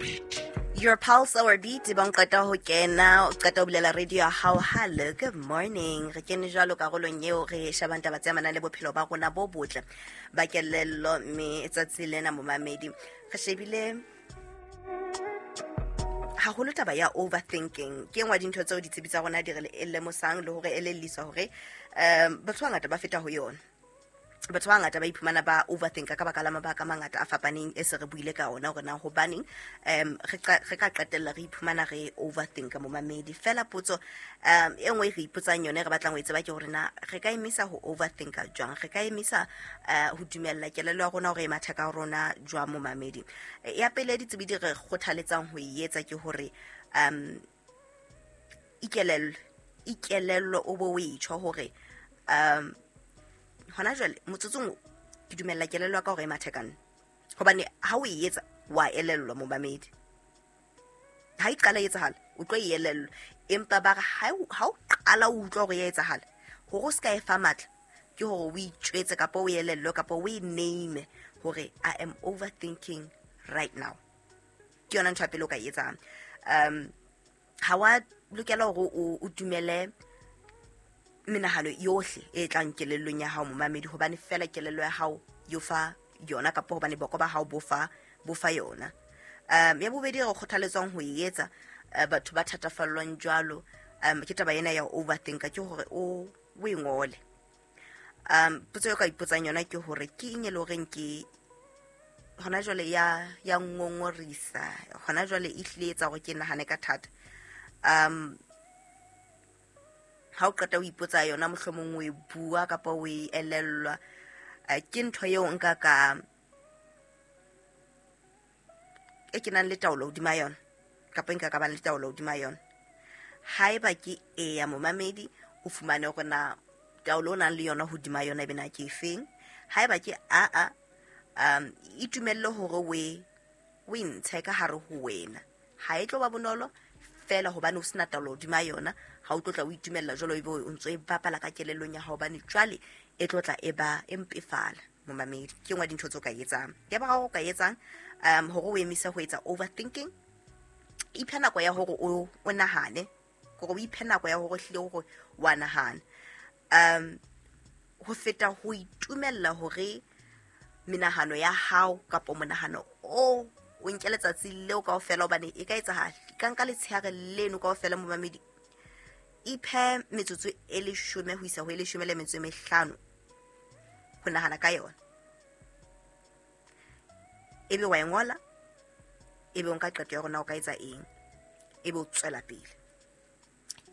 Beat. Your pulse, our beat. Bang qeta ho kena, o qeta ho bulela radio ya hao. Hello, good morning. Re kene jwalo karolong eo re shebang taba tse amanang le bophelo ba rona bo botle ba kelello, mme tsatsi lena, momamedi, re shebile haholo taba ya overthinking. Ke engwe dintho tseo ditsebi tsa rona di re lemosang le hore elelliswa hore batho ba bangata ba feta ho yona. Batho ba bangata ba iphumana ba overthinka ka baka la mabaka a mangata a fapaneng e se re buile ka ona hore na hobaneng re ka qetella re iphumana re overthinka, momamedi. Fela potso e nngwe e re ipotsang yone, re batlang ho e tseba, ke hore na re ka emisa ho overthinka jwang, re ka emisa ho dumella kelello ya rona hore e mathe ka rona jwang, momamedi. Ya pele ditsebi di re kgothaletsang ho e etsa ke hore ikelello, ikelello, o bo o e tjho hore hona jwale motsotsong o, ke dumella kelello ya ka hore e mathe ka nna, hobane ha o e etsa wa elellwa, momamedi. Ha e qala e etsahala, o tlo e elellwa, empa ba re ha o qala o utlwa hore ya etsahala, hore o se ka e fa matla, ke hore o itjwetse kapa o elellwe kapa o e name hore I am overthinking right now. Ke yona ntho ya pele o ka e etsang. Ha wa lokela hore o dumele menahano yohle e tlang kelellong ya hao, momamedi, hobane fela kelello ya hao yo fa yona kapa hobane boko ba hao bo fa yona. Ya bobedi re kgothaletswang ho e etsa, batho ba thatafallwang jwalo ke taba ena ya overthinka, ke hore o e ngole. Potso eo ka ipotsang yona ke hore ke eng e le horeng ke hona jwale ya ngongorisa hona jwale, e hlile etsa hore ke nahane ka thata. Ha o qeta ho ipotsa yona, mohlomong o e bua kapa o e elellwa, ke ntho eo nka ka e ke nang le taolo hodima yona kapa nka ka bang le taolo hodima yona. Haeba ke eya, momamedi, o fumane hore na taolo o nang le yona hodima yona ebe na ke efeng. Haeba ke aa, itumelle hore o e ntshe ka hare ho wena. Ha e tlo ba bonolo fela hobane o sena taolo hodima yona. Ha o tlo tla o itumella jwalo, ebe o ntso e bapala ka kelellong ya hao, hobane jwale e tlo tla e ba e mpefala, momamedi. Ke nngwe ya dintho tse o ka etsang. Ya boraro o ka etsang hore o emise ho etsa overthinking, iphe nako ya hore o nahane, hore o iphe nako ya hore hlile hore wa nahana, ho feta ho itumella hore menahano ya hao kapa monahano o nke letsatsi leo kaofela, hobane e ka etsahala e ka nka letshehare leno kaofela, momamedi. Iphe metsotso e 10 ho isa ho e 15 ho nahana ka yona, ebe wa e ngola, ebe o nka qeto ya hore na o ka etsa eng, ebe o tswela pele.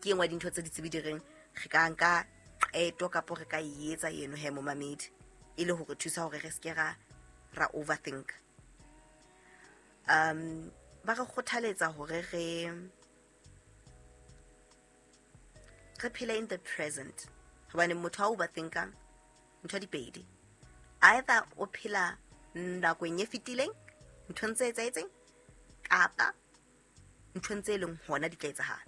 Ke engwe ya dintho tse ditsebi di reng re ka nka qeto kapo re ka e etsa eno he, momamedi, e le hore thusa hore re seke ra overthink. Ba re kgothaletsa hore re phele in the present, hobane motho ha overthinka, ntho di pedi: either o phela nakong e fetileng, nthong tse etsahetseng, kapa nthong tse leng hona di tla etsahala.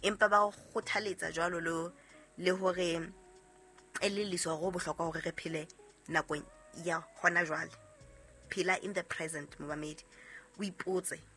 Empa ba kgothaletsa jwalo le hore elelliswa hore ho bohlokwa hore re phele nakong ya hona jwale. Phela in the present, momamedi, o ipotse.